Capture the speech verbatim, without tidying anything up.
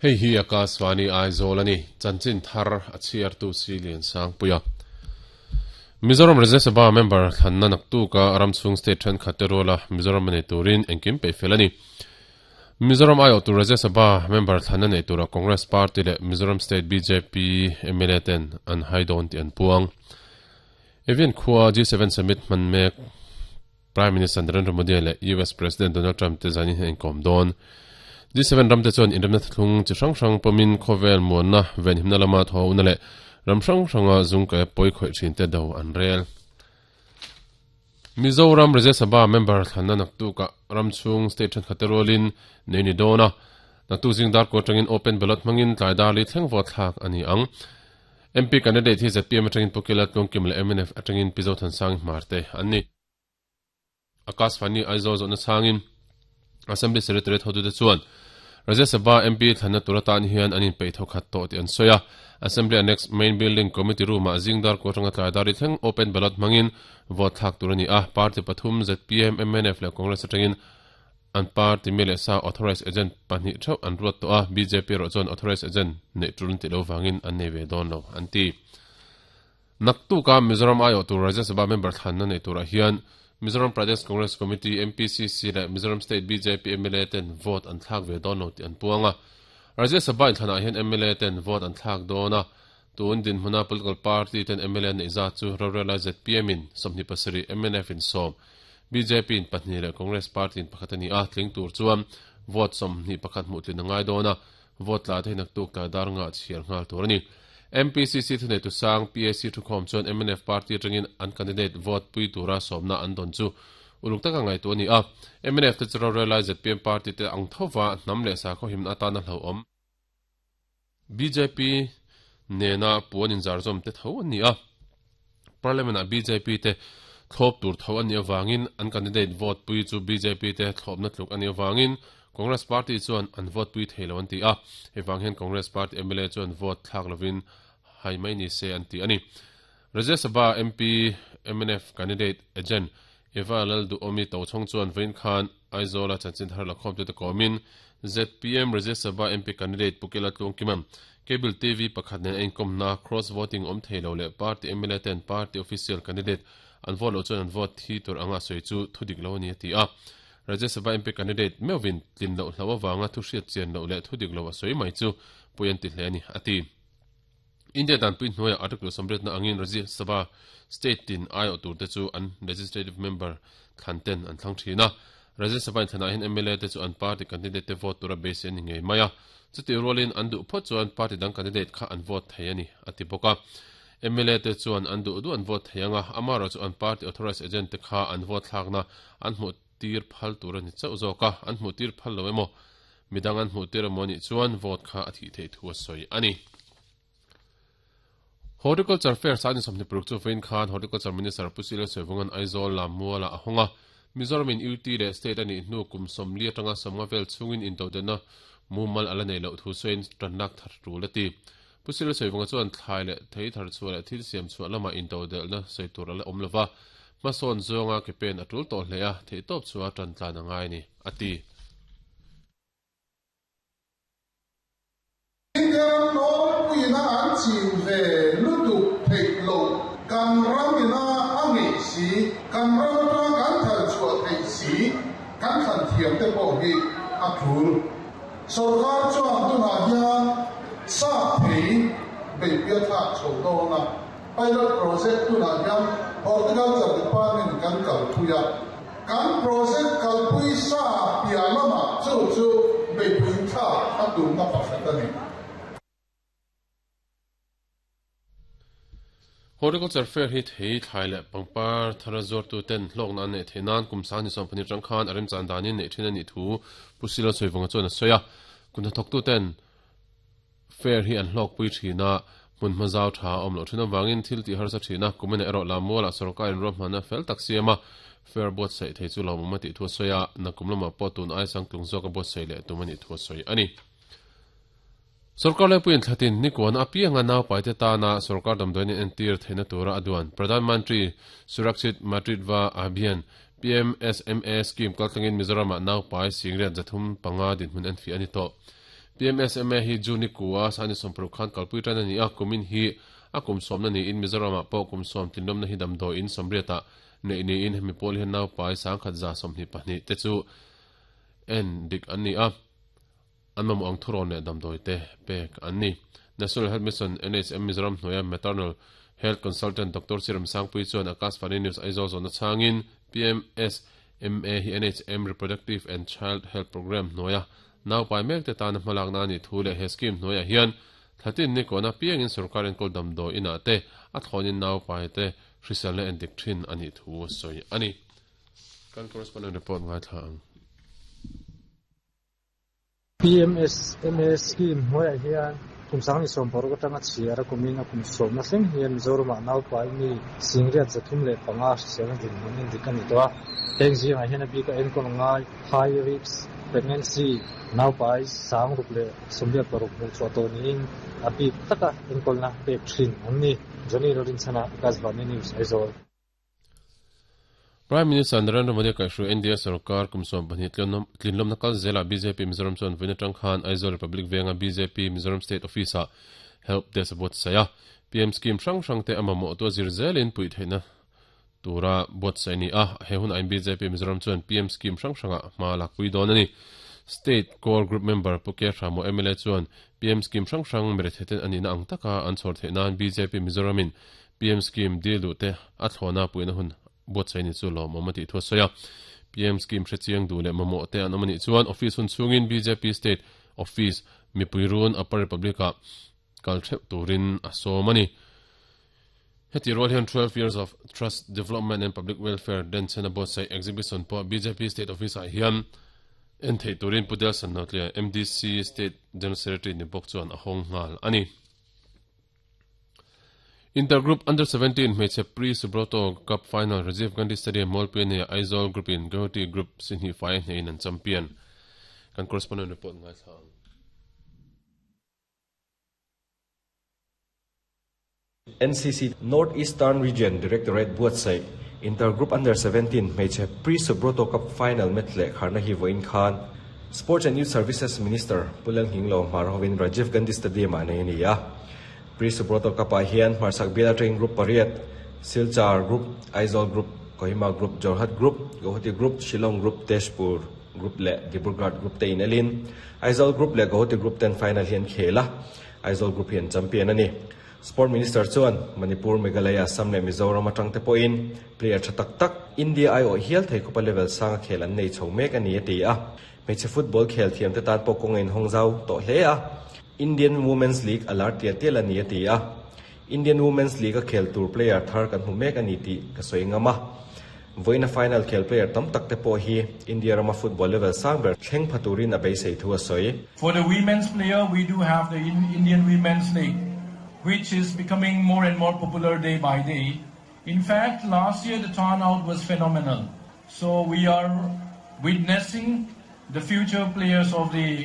Hei hi Akashvani Aizawl ani chanchin thar a chhiar tu si lian sang puia Mizoram Rajya Sabha member thlanna naktu ka ramchhung state then khaterola Mizoram nei turin engkim pe felani Mizoram ayo tu Rajya Sabha member thlanna nei tura Congress Party le Mizoram State B J P M L A ten an haidon ti an puang Evian khua G seven summit manmek Prime Minister Narendra Modi le U S President Donald Trump te zani hen kom don G seven ram te chuan inramna thlung chi hrang hrang pomin khovel muanna ven himna lama tho una le ram hrang hranga zung ka poi khoi thin te do an rel Mizoram Rajya Sabha member thlanna naktu ka ramchhung state than khaterolin neini dona naktu jing dar ko tangin open ballot mangin tlaidar li thleng vo thlak ani ang M P candidate hi Z P M atangin Pukela Tlungkim le M N F atangin Pizo Thansang Marte anni Akashvani Aizawl zawhna changin Assembly Secretariat hotu te chuan Rajya Sabha M P thlanna turatan hian anin pei tho khat to ti an soya Assembly Annex Main Building Committee Room a jingdar ko tanga tlaidar thleng open ballot mangin vote thlak turani a party pathum Z P M M N F le Congress atangin an party mele sa authorized agent pahnih theuh an ruat to a B J P ro chuan authorized agent nei tulun ti lo wangin an nei ve dawn lo an ti naktu ka Mizoram ayo tu Rajya Sabha member thlanna nei tura hian Mizoram Pradesh Congress Committee M P C C le Mizoram State B J P M L A ten vote an thlak ve dawn lo ti an puanga Rajya Sabha in thlana hian M L A ten vote an thlak dawna tun din hmuna political party ten M L A nei za chu rorela Z P M in sawmhnih pasarih M N F in sawm B J P in pahnih le Congress Party in pakhat ani a tling tur chuan vote sawmhnih pakhat hmuh tlin a ngai dawna vote tla te naktuk tla dar nga chhiar nghal tur ani M P C C thunei tu sang P A C thukhawm chuan M N F party atangin an candidate vote pui tura sawmna an dawn chu uluk taka ngai tu ani a M N F te chu rorela Z P M party te ang thova hnam le sa khaw himna atana hlo awm B J P nena puan in zarzawm te tho ani a Parliament a B J P te thlop tur tho ani awangin an candidate vote pui chu B J P te thlopna tluk ani awangin Congress Party chuan an vote pui theilo an ti a hewang hian Congress Party M L A chuan vote thlak lovin hai mai ni se an ti ani Rajya Sabha M P M N F candidate agent Eva Lal du omi to chong chuan vein khan Aizawl a chanchin thar lakhom te komin Z P M Rajya Sabha M P candidate Pukela Tlungkimam Cable T V pakhat nen income na cross voting om theilo le party M L A ten party official candidate an vote lo chuan an vote thi tur anga soi chu thudik lo ni ti a Rajya Sabha M P candidate Melvin tlin lo hlawa wanga thu hriat chian lo le thudik lo a soi mai chu puian ti hle ani ati India dan pui hnuaia article samret na angin Rajya Sabha state tin aio tur te chu an legislative member thlan ten an thlang thina Rajya Sabha in thlana hin M L A te chu an party candidate te vote tura base ani ngei maia chuti rolin an du phawt chuan party dang candidate kha an vote thei ani ati bawka M L A te chuan an du du an vote theianga amaro chu an party authorized agent te kha an vote thlakna an hmu tir phal tur ani chauh zawka an hmu tir phal lo emaw midang an hmu tir emaw ni chuan vote kha a thi thei thu a sawi ani Horticulture Fair sani sawmhnih paruk chu vein khan Horticulture Minister Pusila Soivungan Aizawl Lamuala a hawnga Mizoram in U T le state ani hnu kum sawmli atanga sawmnga vel chungin intodenna mumal ala nei loh thu sawiin tanlak thar tul ati Pusila Soivunga chuan thlai le thei thar chu le thil siam chu lama intodelna sawi tur ala awm lova hmasawn zawnga ke pen a tul tawh hle a thei tawp chu a tan tlan a ngai ni ati India an chin ve lutuk thei lo kan ramina a ngei si kan ram atang kan thal chhuah thei si kan thlan thiam te pawh hi a thul sarkar chuan tunah hian sa thei beipia thlak chho dawna pilot project tunah hian horticulture department kan kalpui a kan project kalpui sa piah lamah chu chu beipui thlak a tumna pakhat ani. Horticulture Fair hi thei thlai le pangpar thara zawr tu ten hlawk na nei theinan kum sang ni sawm pahnih tang khan a remchan danin nei thin ani thu Pusila Soivunga chuan a sawi a kun thawk tu ten fair hi an hlawk pui thina hmun hma zau tha awm lo thin awangin thil ti harsa thina kumena erawh Lamuala sarkar in ruahmanna fel tak siama fair buat saih thei chu lawmawm a tih thu a sawi a nakum lamah pawh tun ai sang tlung zawk a buat saih leh tum ani thu a sawi ani. Sarkar lepuiin thlatin nikuan a pianga nau paite tana sarkar damdawiin entir theihna tura a duan Pradhan Mantri Surakshit Matritva Abhiyan P M S M A scheme kaltlangin Mizoram ah nau pai singriat zathum panga dinhmun en fi ani tawh P P M S M A hi June ni kua sani sawmparuk khan kalpui tan ani a, kumin hi a kum sawmna niin Mizoramah pawh kum sawm tlinlawmna hi damdawiin sawmriatah neih niin hemi pawl hian naupai sangkhat za sawmhnih pahnih te chu en dik an ni a, an mamawh ang thurawn leh damdawi te pek an ni. National Health Mission N H M Mizoram hnuaia Maternal Health Consultant Doctor Siram Sangpui chuan Akashvani News Aizawl zawhna chhangin P M S M A hi N H M Reproductive and Child Health Program hnuaia naupai mek te tana hmalakna ani thu leh he scheme hnuaiah hian thlatin ni kona piangin sarkar enkawl damdawi inah te a thlawnin naupai te hriselna endik thin ani thu sawi ani. Kan correspondent report ngaithla ang. P M S M A scheme hnuaiah hian kum sang ni sawm paruk atanga chhiar a kumin a kum sawmna thleng hian Mizoramah naupai mi singriat zathum leh panga hriselna dinhmun endik ani tawh a. Heng zingah hian a bika enkawl ngai high risk pregnancy naupai sang ruk leh sawmriat paruk hmuh chhuah tawh niin a bik taka enkawlna pek thin an ni. Johnny Lorinchana, Akashvani News, Aizawl. Prime Minister Narendra Modi kaihhruai N D A sarkar kum sawm pahnih tlinlawmna kal zela B J P Mizoram chuan vawiin atang khan Aizawl Republic Venga B J P Mizoram State Office ah help desk buatsaih a. P M scheme hrang hrang te a mamawh tu a zir zelin puih theihna tura buatsaih ni a. He hun ah B J P Mizoram chuan P M scheme hrang hranga hma lakpui dawn ani. State Core Group member Puke Ramo M L A chuan P M scheme hrang hrang miretheten ani na ang taka an chhawr theih nan B J P Mizoramin P M scheme dil duh te a thlawna puihna hun buatsaih ni chu lawmawm a tih thu a sawi a. P M scheme hrechiang duh leh mamawh te an awm anih chuan office hun chhungin B J P State Office mipui run Upper Republic ah kal theuh turin a sawm ani. Heti rual hian twelve years of trust, development and public welfare denchena buatsaih exhibition pawh B J P State Office ah hian en theih turin Pudel Sanotlia M D C State General Secretary ni bawk chuan a hawng nghal ani. Intergroup Under seventeen hmeichhe Pre Subroto Cup Final Rajiv Gandhi Stadium Mualpui ania Aizawl Group in Guwahati Group si hnih fai hnehin an champion. Kan correspondent report ngaithla ang. N C C North Eastern Region Directorate buatsaih Intergroup Under seventeen hmeichhe Pre Subroto Cup Final match leh kharna hi vawiin khan Sports and Youth Services Minister Pu Lalnghinglova Hmar hovin Rajiv Gandhi Stadium ah nei a ni a. Pre Subroto Cup ah hian hmarchhak bial atangin group pariat Silchar Group, Aizawl Group, Kohima Group, Jorhat Group, Guwahati Group, Shillong Group, Tezpur Group leh Dibrugarh Group te in elin Aizawl Group leh Guwahati Group ten final hi an khel a, Aizawl Group hi an champion a ni. Sport Minister chuan Manipur, Meghalaya, Assam leh Mizoram atang te pawhin player tha tak tak India aiawh hial thei khawpa level sanga khel an nei chho mek a ni a ti a. Hmeichhe football khel thiam te tan pawh kawng a inhawng zau tawh hle a, Indian Women's League a lar tial tial a ni a ti a. Indian Women's League a khel tur player thar kan hmu mek a ni tih ka sawi ngam a. Vawiina final khel player tam tak te pawh hi India rama football level sang ber thleng pha turin a beisei thu a sawi. For the women's player, we do have the Indian Women's League, which is becoming more and more popular day by day. In fact, last year the turnout was phenomenal. So we are witnessing the future players of the